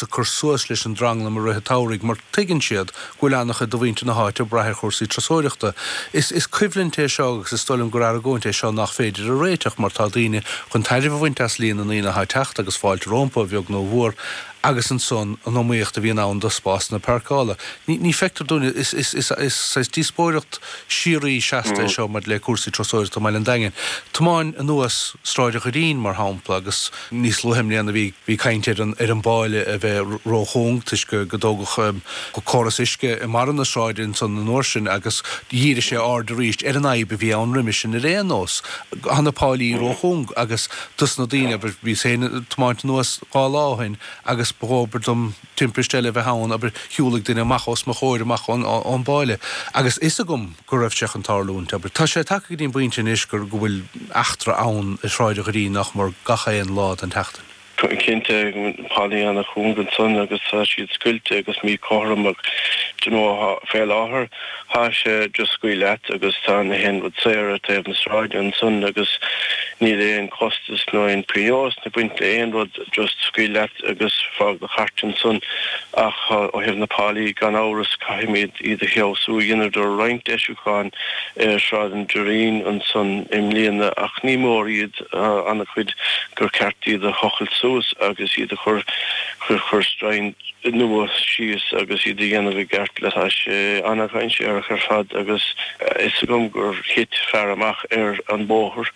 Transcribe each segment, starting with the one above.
Ag cur suas leis an dtranglam i rith an tsamhraidh mar tuigeann siad go bhfuil an-chuid de mhuintir na háite ag brath ar chúrsaí turasóireachta. Is is coimhlint é seo agus is dóigh liom gur argóint é seo nach féidir a réiteach mar tá daoine chun tairbhe a bhaint as líon na ndaoine atá ag teacht agus fáilte rompu, a bheag nó a mhór, agus ansan an iomaíocht a bhíonn ann do spásanna páirceála. Ní ní feictear dúinne, is is is is saghas díospóireacht síoraí seasta é seo maidir le cúrsaí turasóireachta i mBaile an Daingin. Tiomáin anuas Sráid an Dhoirín, mar shampla, agus Níos luaithe i mbliana bhí bhí caint ar an ar an bpáile a bheith róchúng toisc go go dtógadh córas uisce i mbarra na sráide ansan an uair sin agus dhírigh sé aird arís ar an fhadhb a bhí ann roimis sin ar aon nós. Tá na páilí róchúng agus dos na daoine, abair, bhíos féin ag tiomáint anuas 2 lá ó shin agus ba dhóbair dom timpiste eile a bheith ann, abair, shiúlaigh duine amach os mo chomhair amach ón ón bpáile agus fhios agam go raibh sé chun tarlúint. Abair, tá sé tagtha go dtí an bpointe anois gur, go bhfuil eachtra ann i Sráid an Dhoirín nach mór gach aon lá den tseachtain. Cinnte, páilí ana-chúng ansan agus tá siad scoilte agus míchothrom ach do you know fé láthair tá sé just scaoil leat agus tá na haon rud saor ar taobh na sráide ansan agus níl aon chostas nó aon phionós ag baint le aon rud just scaoil leat agus fág do chairt ansan ach ó thaobh na páilí gan amhras caithfimid iad a feabhsú. Dheineadar roinnt deisiúcháin ar Shráid an Doirín ansan i mbliana ach ní mór iad, an-chuid gur ceart iad a thochailt suas agus iad a chur chur stroighin nua síos agus iad a dhéanamh i gceart le Tá sé an-dhainséarach ar fad agus fhios agam gur thit fear amach ar an bóthar,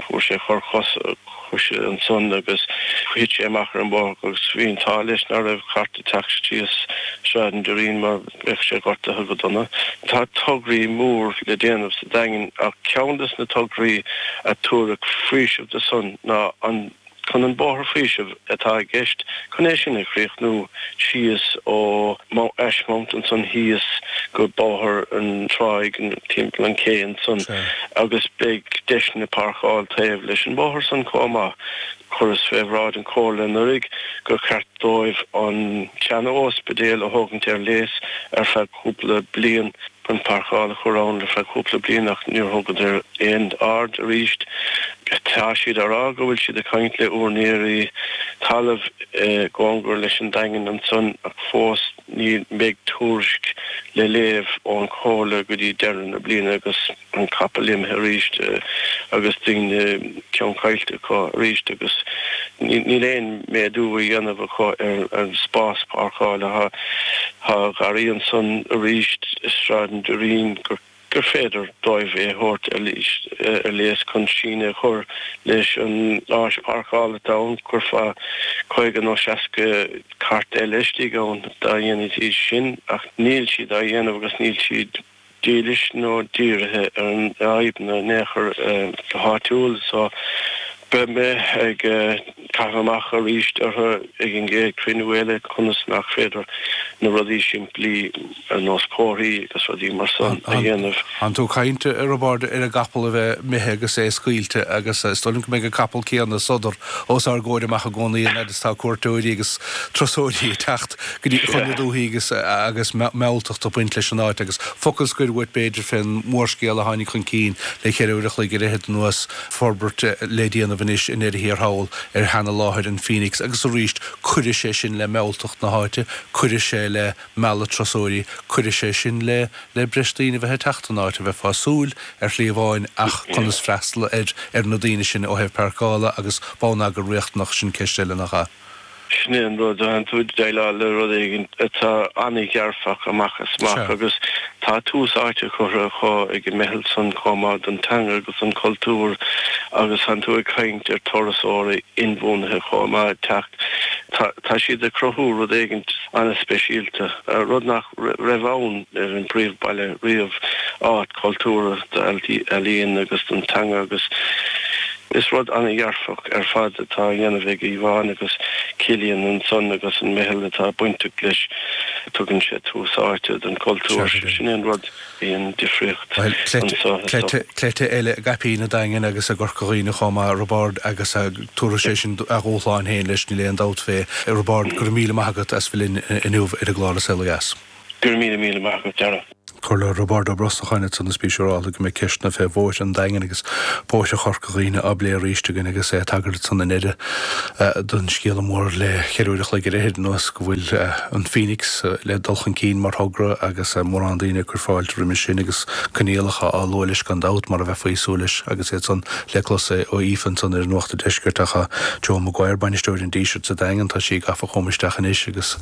fuair sé cor coise ansan agus thit sé amach ar an bhóthar agus bhí an t-ádh leis ná raibh cairt ag teacht síos Sráid an Doirín mar bheadh sé gortaithe go dona. Tá tograí mór le déanamh sa Daingean ach ceann des na tograí a tabharfadh faoiseamh do san ná an chun an Bóthar Faoisimh atá i gceist chun é sin a chríochnú síos ó Ashmount ansan thíos go Bóthar an Tráigh timpeall an cé ansan agus beidh deiseanna páirceáil taobh leis an bóthar san chomh maith. Chuireas fé bhráid an Chomhairle anuraidh gur cheart dóibh an seana-óispidéal a thógaint ar léas ar feadh cúpla bliain chun páirceáil a chur ann ar feadh cúpla bliain ach níor thugadar aon aird arís. Tá siad á rá go bhfuil siad ag caint le úinéirí talaimh i gcóngar leis an Daingean ansan ach fós ní bheidh tuairisc le léamh ón Chomhairle go dtí deireadh na bliana agus an capall imithe arís agus daoine ceann caillte acu arís agus níl aon méadú á dhéanamh acu ar an spás páirceála. Tá garraí ansan arís i Sráid an Doirín gur gur féidir dóibh é a thabhairt ar léas chun síneadh a chur leis an áis páirceála atá ann. Chuirfeá 50 nó 60 cairt eile istigh ann dá ndéanfaidís sin ach níl siad á dhéanamh agus níl siad dílis nó dírithe ar na fadhbanna in aon chor go háitiúil so beidh mé ag caitheamh amach arís orthu ag an gcéad chruinniú eile conas nach féidir na rudaí simplí ar nós comharthaí agus rudaí mar san a dhéanamh. Tánn tú ag caint, a Roibeaird, ar an gcapall a bheith imithe agus é scaoilte agus is dóigh liom go mbeidh an capall céanna sodar os ár gcomhair amach i gcónaí an fhad is atá cuairteoirí agus turasóirí ag teacht go dtí chun na dúthaí agus agus mealltacht ag baint leis an áit agus focal scoir uait b'fhéidir fén mhórscéal a tháinig chun cinn le cheithre uair a chloig ar fhichead anuas, forbairt le déanamh anois i ndeireadh thiar thall ar sheana-láthair an Phoenix agus arís cuirfidh sé sin le mealltacht na háite, cuirfidh sé le mealladh turasóirí, cuirfidh sé sin le le breis daoine a bheith ag teacht don áit, a bheifeá ag súil ar shlí amháin ach conas freastal ar ar na daoine sin ó thaobh páirceála agus bonneagar riachtanach, sin ceist eile nach ea? Sin é an rud, tánn tú ag déileáil le rud éigin atá an-dhearfach amach is amach agus tá tús áite curtha acu ag an meitheal san chomh maith don teanga agus don chultúr agus tánn tú ag caint ar turasóirí inbhuanaithe chomh maith ag teacht. Tá siad ag cruthú rud éigin an-speisialta, rud nach raibh ann ar an bpríomhbhaile riamh, áit chultúrtha d'ealaíon agus don teanga agus is rud an-dhearfach ar fad atá á dhéanamh ag Yvonne agus Cillian ansan agus an meitheal atá bainteach leis. Tugann sé tús áite don chultúr, sin é an rud. Bhí an difríocht anso. Cleite, cleite eile i gcaipín an Daingin agus i gCorca Dhuibhne chomh maith, Roibeárd, agus tabharfaidh sé sin a dhúshlán féin leis, níl aon dabht fé. Roibeárd, go raibh míle maith agat as bheith linn inniu ar an gclár An Saol Ó Dheas. Go raibh míle, míle maith agat, Darragh. Comhairleoir Roibeárd Ó Brosnacháin ansan is bí siúrálta go mbeidh ceisteanna fé bhóithre an Daingin agus bóithre Chorca Dhuibhne á bplé arís againn agus é ag tagairt ansan i ndeireadh don scéala mór le cheithre uair a chloig ar fhichid anuas go bhfuil an Phoenix le dul chun cinn mar thogra agus mórán daoine ag cur fáilte roimis sin agus coinníollacha á lua leis gan dabht mar a bheifí ag súil leis agus iad san le clos ó Aoife ansan ar Nuacht an Deiscirt ach Joan Maguire, bainisteoir an Dísirt sa Daingean, tá sí gafa chugam isteach anois agus.